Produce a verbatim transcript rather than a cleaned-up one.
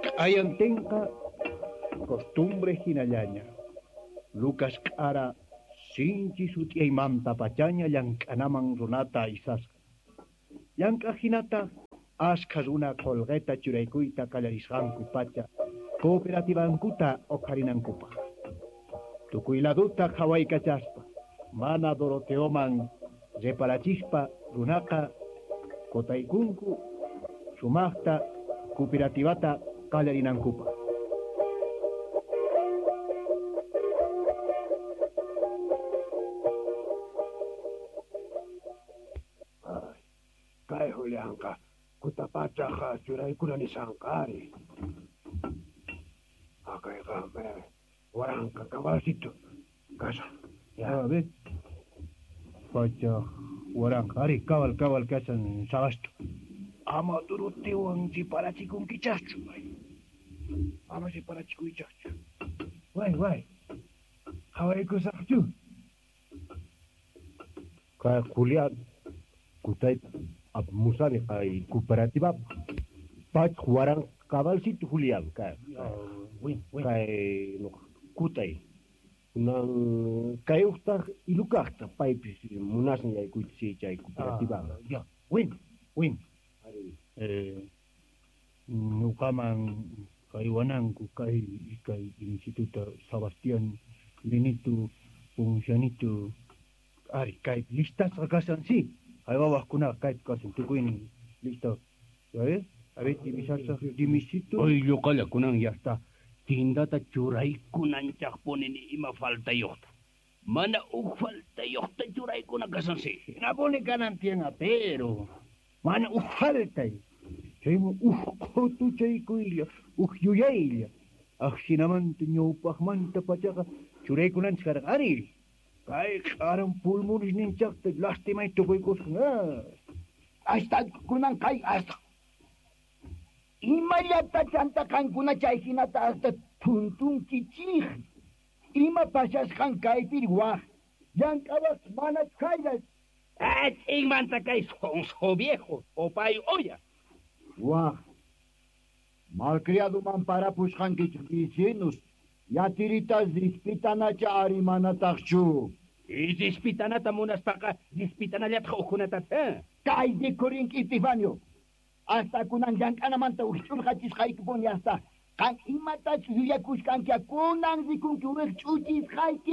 Q'ayantinqa costumbre hinallaña. Lucas q'ara sinchi sut'iymanta pachaña llank'anaman runata aysasqa. Llank'aq hinata askha runa qolqeta churaykuyta qallarisqanku pacha cooperativankuta uqharinankupaq. Tukuy laduta qhawaykachaspa mana Doroteoman reparachispa runaqa kotaykunku sumaqta cooperativata qallarinankupaq. Ay, kay Julianqa kutapachaq churaykuna nishanqari. Akayqa waranqa cabalcito kashan. Ya. A ver. Pacha waranqa ari cabal cabal kashan sabasto. Ama Doroteowan riparachikunkichaqchu. Ama riparachikuychaqchu. Way way. Qhawaykusaqchu. Kay Julián kutayta apamusani kay cooperativapaq. Pachaq waranqa cabalcito Julián kay. Kay nuqa kutay. Kunan kay uqtaq ilukaqta paypis munasan yaykuyta si chay cooperativaman. Ya, bueno, bueno. Eh, nuqaman kaywananku kay kay instituto Sebastián Benito Poncianito ari kay listasqa kashan si haywawaqkunaqa kaypi kashan tukuynin listo. A ver, a ver, dimisasaq dimisito. Hoy lluqalla kunan ya está. Tindata churaykunanchaqpuni ni ima faltayuqta. Mana uj faltayuqta churaykuna kashan si. Hinapuni kanan tiyan pero mana uj faltay. Chayman uj qhutuchaykuylla, uj yuyaylla. Ajhinamanta ñawpaqmanta pachaqa churaykunanchik karqa ari. Kay q'aran pulmonesninchaqta lastimay tukuykusqan. Hasta kunan kay hasta. Imallata chanta qankuna chay hinata hasta tuntunkichik. Ima pasasqan kaypiri waq. Llank'awaq mana chaylla. Ah, ch'inmanta kay sonso viejo, opay olla. Waq. Malcriaduman parapusqankichik vecinos. Yatiritas rispitanacha ari manataqchu. Y rispitanata munaspaqa rispitanallataq uqkunata. Kay rikurinki Epifanio. Hasta kunan llank'anamanta wikch'urqachisqaykipuni hasta. Qan imatachu yuyakusqanki kunan rikunki wikch'uchisqayki.